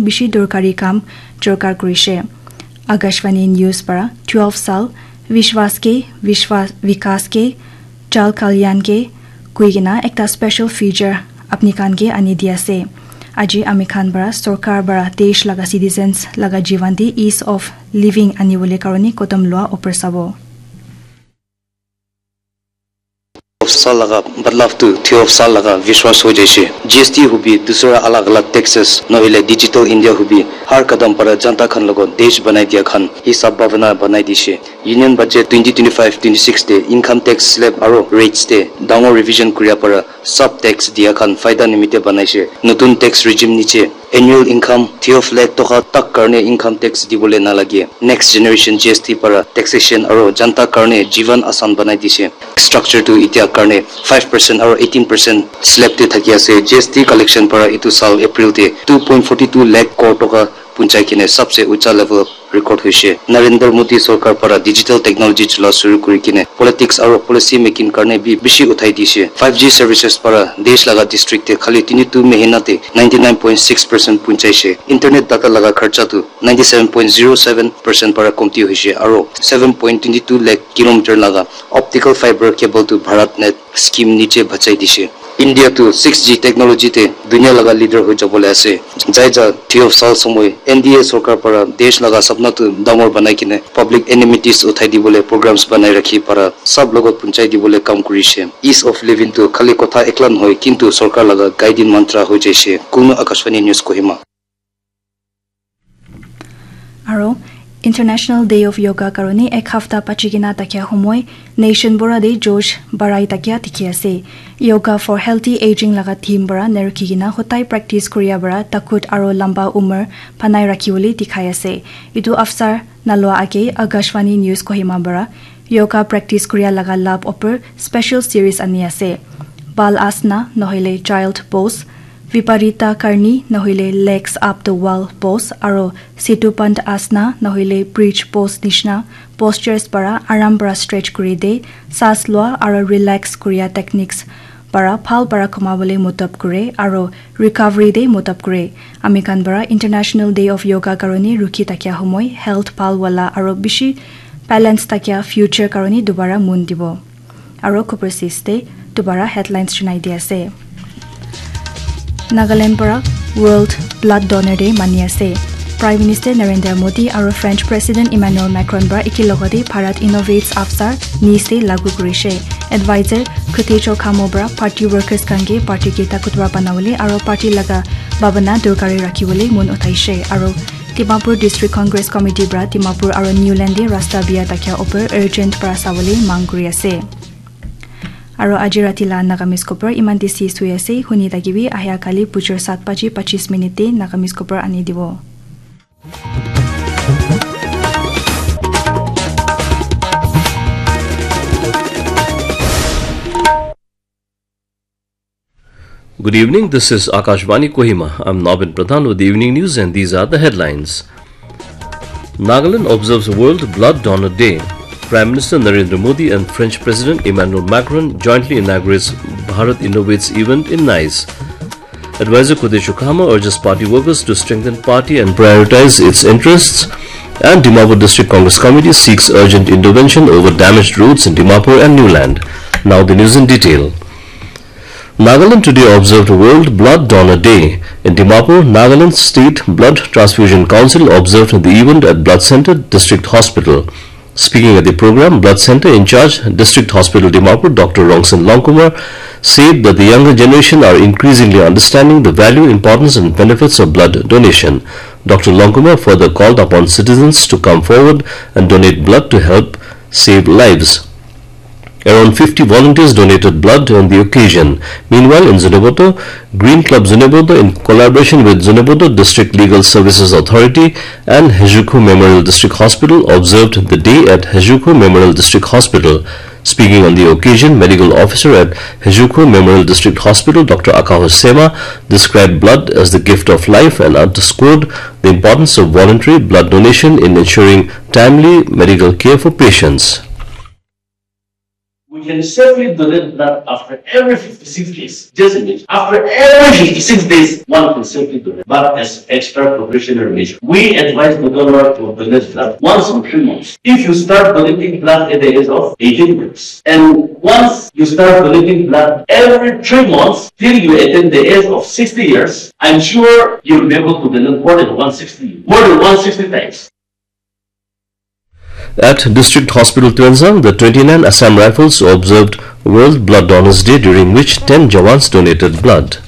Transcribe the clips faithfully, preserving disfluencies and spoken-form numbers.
bishi dorkari kam jorkar kurishe. Akashvani News para twelve sal Vishwas ke, Vishwas, Vikas ke, Jal Kalyan ke koi kena ekta special feature apni khan ke ani di ase. Aji ami khan para sorkar para desh laga citizens laga jivan te ease of living ani bole karone kodom lua opor sabo. Of sal laga badlav tu theo of sal laga vishwas ho jaise. G S T hubi dusra alag alag taxes nohile digital India hubi har kadam para janta khan logot desh banai dia khan hisab bhavana banai dise. Union budget twenty twenty-five twenty-six te income tax slab aro rates te dangor revision kuria para sub tax dia khan faida nimite banaise. Notun tax regime niche annual income twelve lakh toka tak karne income tax dibole nalage. Next generation G S T para taxation aro janta karne jivan asan banai dise. Structure tu itia karne five percent aro eighteen percent slab te thaki ase. G S T collection para itu sal April te two point forty two lakh crore toka punchai kene sabse ucha level record hoise. Narendra Modi sorkar para digital technology chula shuru kuri kene politics aro policy making karne bi bishi uthai dise. Five G services para desh laga district te khali tini tu mahina te ninety nine point six percent punchaise. Internet data laga kharcha tu ninety seven point zero seven percent para komti hoise aro seven point twenty two lakh kilometer laga optical fiber cable tu BharatNet scheme niche bachai dise. India tu six G technology te dunia laga leader hoi jabole ase. Jai ja theo sal somoy N D A sorkar para desh laga sapna tu dangor banai kene public enmities uthai dibole programs banai rakhi para sab logot punchai dibole kam kurishe. Ease of living tu khali kotha ekla nohoi kintu sorkar laga guiding mantra hoi jaise. Kunu Akashvani News Kohima. Aro International Day of Yoga karone ek hafta pachi kena takia humoi nation bura de josh barai takia dikhi ase. Yoga for healthy aging laga theme bara nerukhi kena hotai practice kuria bara takut aro lamba umar banai rakhi bole dikhai ase. Itu afsar nalua age Akashvani News Kohima bara yoga practice kuria laga lab upor special series ani ase. Bal asana nohile child pose, Viparita Karni nohile legs up the wall pose aro Setu Bandh asana nohile bridge pose nishina postures para aram para stretch kuri de, saas lua aro relax kuria techniques para bhal para koma bole modot kure aro recovery de modot kure. Ami khan para International Day of Yoga karone rukhi takia humoi health bhal wala aro bishi balance takia future karone dubara mon dibo. Aro khupur sis te dubara headlines sunai di ase. Nagaland para World Blood Donor Day mani ase. Prime Minister Narendra Modi aro French President Emmanuel Macron para eki logote Bharat Innovates Afsar Nice te lagu kurishe. Advisor Khutei Chokhamo para party workers khan ke party ke takutwar banabole aro party laga bhabana dorkari rakhibole mon uthaishe. Aro Dimapur District Congress Committee para Dimapur aro Newland te rasta bia takia upor urgent para sabole mang kuri ase. Aro aji rati la Nagamese khobor iman te sis hoi ase. Huni thakibi ahia kali bujor sat baji pachis minute te Nagamese khobor ani dibo. Good evening, this is Akashvani Kohima. I'm Nabin Pradhan with the evening news and these are the headlines. Nagaland observes World Blood Donor Day. Prime Minister Narendra Modi and French President Emmanuel Macron jointly inaugurates Bharat Innovates event in Nice. Advisor Khutei Chokhamo urges party workers to strengthen party and prioritize its interests. And Dimapur District Congress Committee seeks urgent intervention over damaged roads in Dimapur and Newland. Now the news in detail. Nagaland today observed World Blood Donor Day. In Dimapur, Nagaland State Blood Transfusion Council observed the event at Blood Center, District Hospital. Speaking at the program, Blood Center in charge, District Hospital Dimapur, Doctor Rongsen Longkumar, said that the younger generation are increasingly understanding the value, importance, and benefits of blood donation. Doctor Longkumar further called upon citizens to come forward and donate blood to help save lives. Around fifty volunteers donated blood on the occasion. Meanwhile, in Zunheboto, Green Club Zunheboto, in collaboration with Zunheboto District Legal Services Authority and Hejukhu Memorial District Hospital, observed the day at Hejukhu Memorial District Hospital. Speaking on the occasion, Medical Officer at Hejukhu Memorial District Hospital, Doctor Akaho Sema, described blood as the gift of life and underscored the importance of voluntary blood donation in ensuring timely medical care for patients. We can safely donate blood after every fifty-six days. Just imagine, after every fifty-six days, one can safely donate blood as extra precautionary measure. We advise the donor to donate blood once in three months. If you start donating blood at the age of eighteen years, and once you start donating blood every three months till you attain the age of sixty years, I'm sure you'll be able to donate more than one sixty, more than one sixty times. At District Hospital Tuensang, the twenty-nine Assam Rifles observed World Blood Donors Day, during which ten jawans donated blood.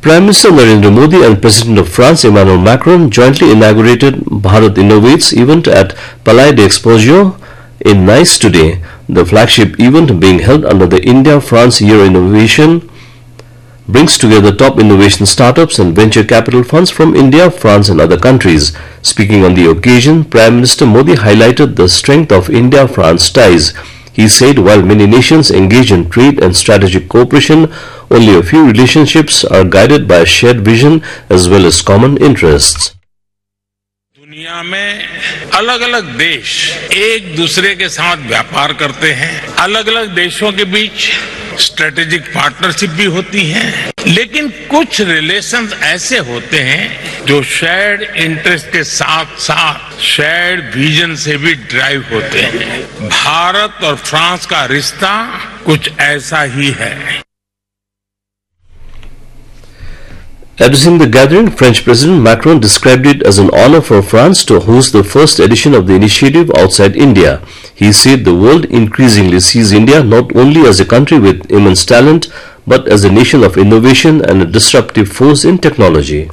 Prime Minister Narendra Modi and President of France Emmanuel Macron jointly inaugurated Bharat Innovates event at Palais d'Exposition in Nice today, the flagship event being held under the India-France Year Innovation brings together top innovation startups and venture capital funds from India, France, and other countries. Speaking on the occasion, Prime Minister Modi highlighted the strength of India-France ties. He said while many nations engage in trade and strategic cooperation, only a few relationships are guided by a shared vision as well as common interests. दुनिया में अलग-अलग देश एक दूसरे के साथ व्यापार करते हैं, अलग-अलग देशों के बीच स्ट्रेटेजिक पार्टनरशिप भी होती है, लेकिन कुछ रिलेशंस ऐसे होते हैं जो शेयर्ड इंटरेस्ट के साथ-साथ शेयर्ड विजन से भी ड्राइव होते हैं। भारत और फ्रांस का रिश्ता कुछ ऐसा ही है। Addressing the gathering, French President Macron described it as an honor for France to host the first edition of the initiative outside India. He said the world increasingly sees India not only as a country with immense talent, but as a nation of innovation and a disruptive force in technology.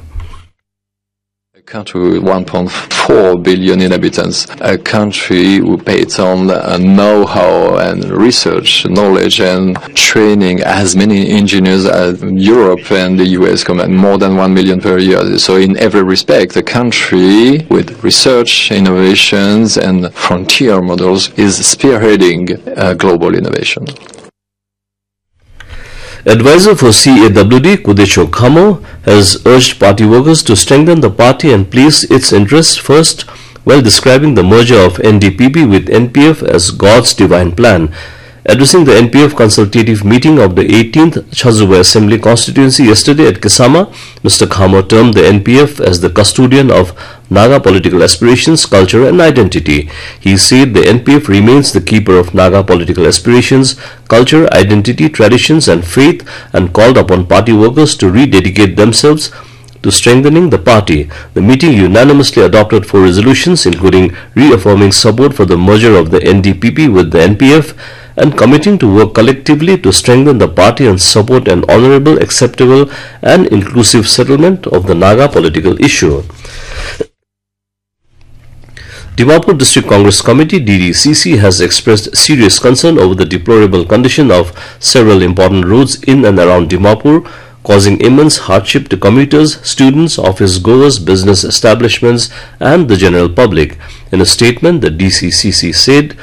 A country with one point four billion inhabitants, a country who pays on uh, know-how and research, knowledge and training, as many engineers as Europe and the U S combined, more than one million per year. So in every respect, a country with research, innovations and frontier models is spearheading uh, global innovation. Advisor for C A W D, Kudesho Khamo, has urged party workers to strengthen the party and place its interests first while describing the merger of N D P P with N P F as God's divine plan. Addressing the N P F consultative meeting of the eighteenth Chhazuwe Assembly Constituency yesterday at Kisama, Mister Khamo termed the N P F as the custodian of Naga political aspirations, culture and identity. He said the N P F remains the keeper of Naga political aspirations, culture, identity, traditions and faith, and called upon party workers to rededicate themselves to strengthening the party. The meeting unanimously adopted four resolutions, including reaffirming support for the merger of the N D P P with the N P F and committing to work collectively to strengthen the party and support an honorable, acceptable and inclusive settlement of the Naga political issue. Dimapur District Congress Committee, D D C C, has expressed serious concern over the deplorable condition of several important roads in and around Dimapur, causing immense hardship to commuters, students, office goers, business establishments, and the general public. In a statement, the D C C C said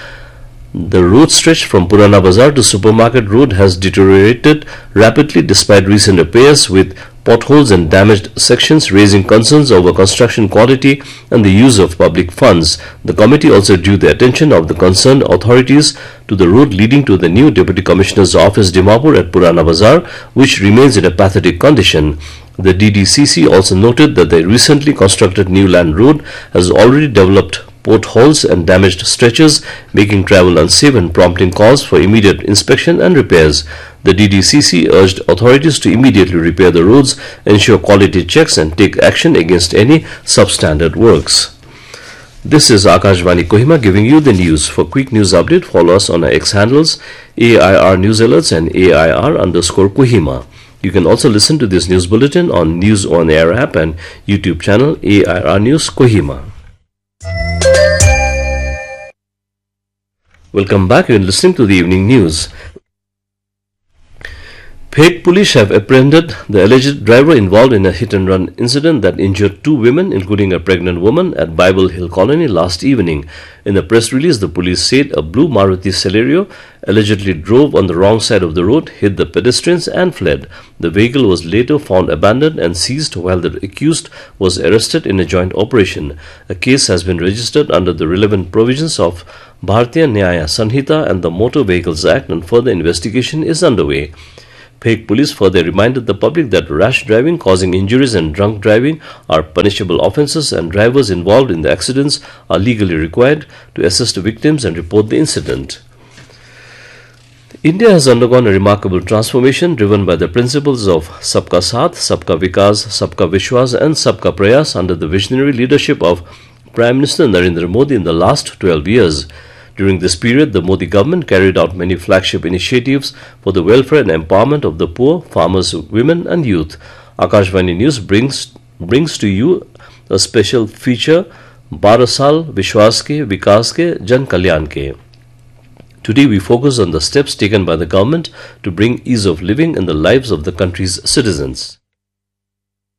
the road stretch from Purana Bazar to Supermarket Road has deteriorated rapidly despite recent repairs, with potholes and damaged sections raising concerns over construction quality and the use of public funds. The committee also drew the attention of the concerned authorities to the road leading to the new Deputy Commissioner's office, Dimapur, at Purana Bazar, which remains in a pathetic condition. The D D C C also noted that the recently constructed New Land Road has already developed potholes and damaged stretches, making travel unsafe and prompting calls for immediate inspection and repairs. The D D C C urged authorities to immediately repair the roads, ensure quality checks, and take action against any substandard works. This is Akashvani Kohima giving you the news. For quick news update, follow us on our X handles, A I R News Alerts and A I R underscore Kohima. You can also listen to this news bulletin on News on Air app and YouTube channel A I R News Kohima. Welcome back. You're listening to the evening news. Phek police have apprehended the alleged driver involved in a hit and run incident that injured two women, including a pregnant woman, at Bible Hill Colony last evening. In a press release, the police said a blue Maruti Celerio allegedly drove on the wrong side of the road, hit the pedestrians, and fled. The vehicle was later found abandoned and seized while the accused was arrested in a joint operation. A case has been registered under the relevant provisions of Bharatiya Nyaya Sanhita and the Motor Vehicles Act, and further investigation is underway. Phek police further reminded the public that rash driving causing injuries and drunk driving are punishable offences, and drivers involved in the accidents are legally required to assist victims and report the incident. India has undergone a remarkable transformation driven by the principles of Sabka Saath, Sabka Vikas, Sabka Vishwas, and Sabka Prayas under the visionary leadership of Prime Minister Narendra Modi in the last twelve years. During this period, the Modi government carried out many flagship initiatives for the welfare and empowerment of the poor, farmers, women, and youth. Akashvani News brings, brings to you a special feature, बारह साल विश्वास के, विकास के, जन कल्याण के. Today, we focus on the steps taken by the government to bring ease of living in the lives of the country's citizens.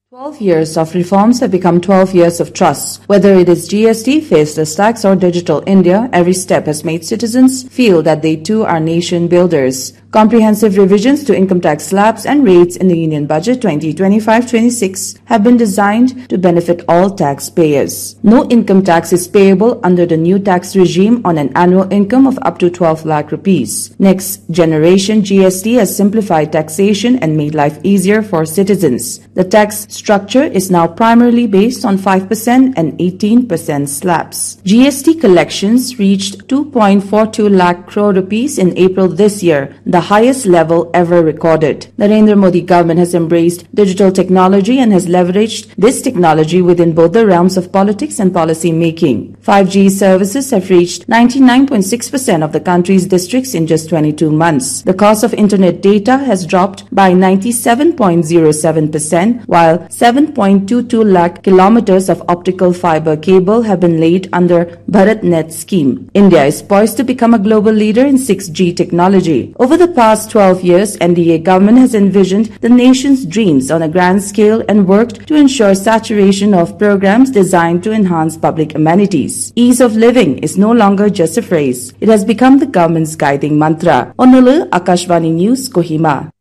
Twelve years of reforms have become twelve years of trust. Whether it is G S T, faceless tax, or digital India, every step has made citizens feel that they too are nation builders. Comprehensive revisions to income tax slabs and rates in the Union Budget twenty twenty-five twenty-six have been designed to benefit all taxpayers. No income tax is payable under the new tax regime on an annual income of up to twelve lakh rupees. Next generation G S T has simplified taxation and made life easier for citizens. The tax structure is now primarily based on five percent and eighteen percent slabs. G S T collections reached two point four two lakh crore rupees in April this year, the highest level ever recorded. Narendra Modi government has embraced digital technology and has leveraged this technology within both the realms of politics and policy making. Five G services have reached ninety-nine point six percent of the country's districts in just twenty-two months. The cost of internet data has dropped by ninety-seven point zero seven percent, while seven point two two lakh kilometers of optical fiber cable have been laid under BharatNet scheme. India is poised to become a global leader in six G technology. Over the past twelve years, N D A government has envisioned the nation's dreams on a grand scale and worked to ensure saturation of programs designed to enhance public amenities. Ease of living is no longer just a phrase. It has become the government's guiding mantra. Onulu, Akashvani News, Kohima.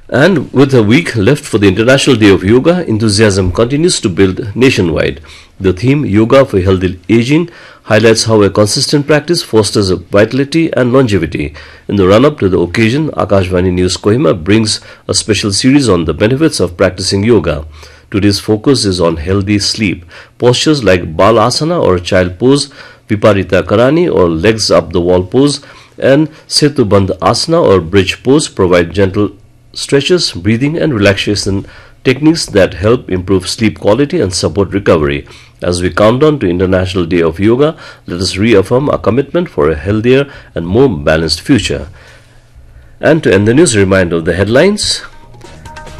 And with a week left for the International Day of Yoga, enthusiasm continues to build nationwide. The theme, Yoga for Healthy Aging, highlights how a consistent practice fosters vitality and longevity. In the run up to the occasion, Akashvani News Kohima brings a special series on the benefits of practicing yoga. Today's focus is on healthy sleep. Postures like Balasana or child pose, Viparita Karani or legs up the wall pose, and Setubandh Asana or bridge pose provide gentle stretches, breathing, and relaxation techniques that help improve sleep quality and support recovery. As we count down to International Day of Yoga, let us reaffirm our commitment for a healthier and more balanced future. And to end the news, a reminder of the headlines.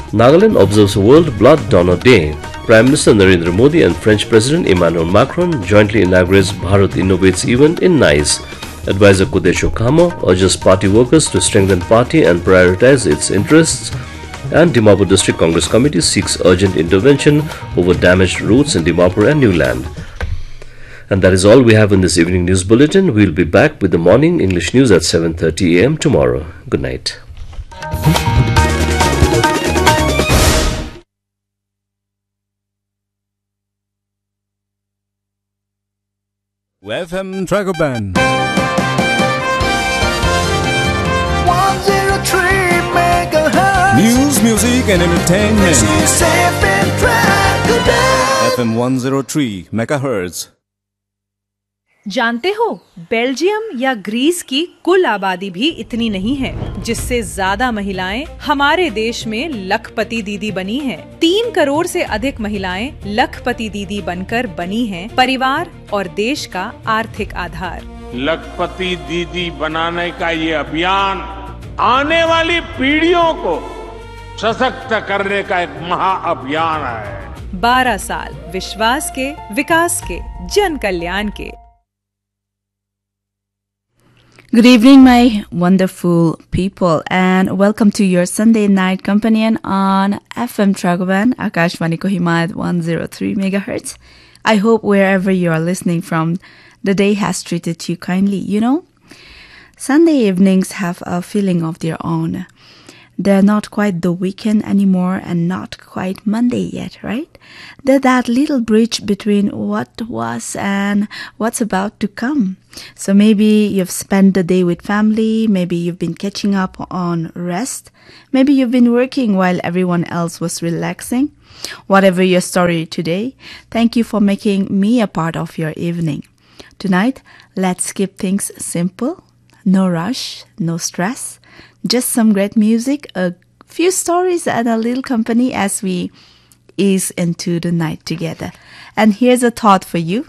Nagaland observes World Blood Donor Day. Prime Minister Narendra Modi and French President Emmanuel Macron jointly inaugurates Bharat Innovates event in Nice. Advisor Kudesho Khamo urges party workers to strengthen party and prioritize its interests. And Dimapur District Congress Committee seeks urgent intervention over damaged roads in Dimapur and Niuland. And that is all we have in this evening news bulletin. We'll be back with the morning English news at seven thirty a m tomorrow. Good night. F M Dragoban. one zero three megahertz. News, music, and entertainment. This is F M Dragoban. F M one zero three megahertz. जानते हो, बेल्जियम या ग्रीस की कुल आबादी भी इतनी नहीं है, जिससे ज्यादा महिलाएं हमारे देश में लखपति दीदी बनी हैं। तीन करोड़ से अधिक महिलाएं लखपति दीदी बनकर बनी हैं परिवार और देश का आर्थिक आधार। लखपति दीदी बनाने का ये अभियान आने वाली पीढ़ियों को सशक्त करने का एक महाअभियान है। बारह साल विश्वास के, विकास के, जन कल्याण के। Good evening, my wonderful people, and welcome to your Sunday night companion on F M Dragoban, Akashvani Kohima at one zero three megahertz. I hope wherever you are listening from, the day has treated you kindly. You know, Sunday evenings have a feeling of their own. They're not quite the weekend anymore and not quite Monday yet, right? They're that little bridge between what was and what's about to come. So maybe you've spent the day with family, maybe you've been catching up on rest, maybe you've been working while everyone else was relaxing. Whatever your story today, thank you for making me a part of your evening. Tonight, let's keep things simple. No rush, no stress. Just some great music, a few stories, and a little company as we ease into the night together. And here's a thought for you.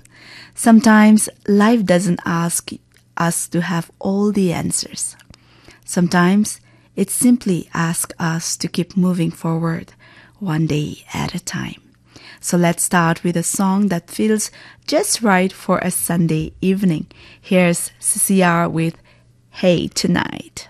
Sometimes life doesn't ask us to have all the answers. Sometimes it simply asks us to keep moving forward one day at a time. So let's start with a song that feels just right for a Sunday evening. Here's C C R with Hey Tonight.